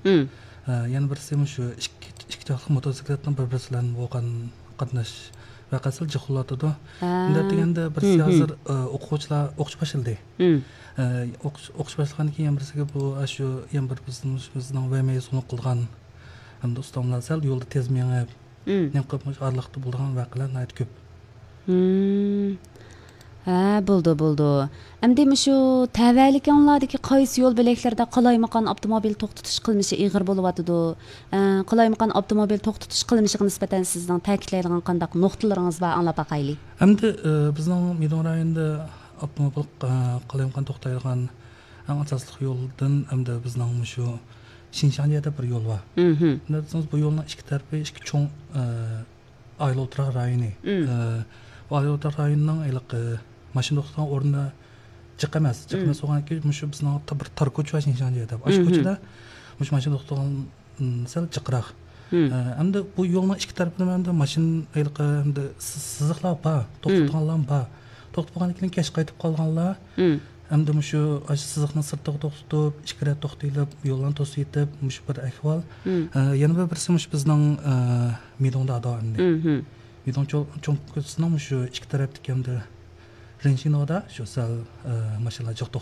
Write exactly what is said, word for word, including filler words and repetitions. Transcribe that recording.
ئە، يەنە بىرسى مۇشۇ ئىككى، ئىككى چاقلىق موتوسىكلېتنىڭ بىر-بىرسى بىلەن بولغان قاتناش ۋەقەسى جىق بولۇۋاتىدۇ. ئە. مۇنداق دېگەندە، بىرسى ھازىر، ئە، ئوقۇغۇچىلار ئوقۇش باشلىدى. ئە، ئوقۇش، ئوقۇش باشلىغاندىن كېيىن يەنە بىرسىگە بۇ، ئە، شۇ يەنە بىر بىزنىڭ، بىزنىڭ ۋەمەيىز قىلغان ھەمدە ئۇستاملار سەل يولدا تېز مېڭىپ، نېمە قىلىپ مۇشۇ ئارىلىقتا بولىدىغان ۋەقەلەر ناھايىتى كۆپ. ھە، بولدى، بولدى. ئەمدى مۇشۇ تەۋەلىكىڭلاردىكى قايسى يول بۆلەكلىرىدە قالايمىقان ئاپتوموبىل توختىتىش قىلمىشى ئېغىر بولۇۋاتىدۇ؟ ئە، قالايمىقان ئاپتوموبىل توختىتىش قىلمىشىغا نىسبەتەن سىزنىڭ تەكىتلەيدىغان قانداق نۇقتىلىرىڭىز بار، ئاڭلاپ باقايلى. ئەمدى، ئە، بىزنىڭ مىدۇڭ رايونىدا ئاپتوموبىل، ئە، قالايمىقان توختايدىغان ئەڭ ئاساسلىق يولدىن ئەمدى بىزنىڭ مۇشۇ شىنشاڭجيە دەپ بىر يول بار. مم. نېمە دېسىڭىز، بۇ يولنىڭ ئىككى تەرىپى ئىككى چوڭ، ئە، ئايل ئولتۇراق رايونى. ئە، بۇ ئايل ئولتۇراق رايونىنىڭ ھېلىقى ماشىنا توختىغان ئورنى جىق ئەمەس. جىق ئەمەس بولغاندىكىن، مۇشۇ بىزنىڭ تا-، بىر تار كوچا بار شىنشاڭجيە دەپ. ئاشۇ كوچىدا مۇشۇ ماشىنا توختىغان، ئىم، سەل جىقراق. ئە، ئەمدى بۇ يولنىڭ ئىككى تەرىپىدە ئەمدى ماشىنا ھېلىقى ئەمدى سى-، سىزىقلار بار، توختىتىدىغانلار بار. توختىتىپ بولغاندىن كېيىن كەچ قايتىپ قالغانلار ئەمدى مۇشۇ، ئاشۇ سىزىقنىڭ سىرتىغا توختىتىپ، ئىككى رەت توختىتىپ، يوللارنى توسۇۋېتىپ، مۇشۇ بىر ئەھۋال. ئە، يەنە بىر بىرسى مۇشۇ بىزنىڭ، ئە، مىدۇڭدا ئەمدى. مىدۇڭ چوڭ، چوڭ كوچىسىنىڭ مۇشۇ ئىككى تەرەپتىكى ئەمدى رېنشىنودا شۇ سەل، ئە، ماشىنىلار جىق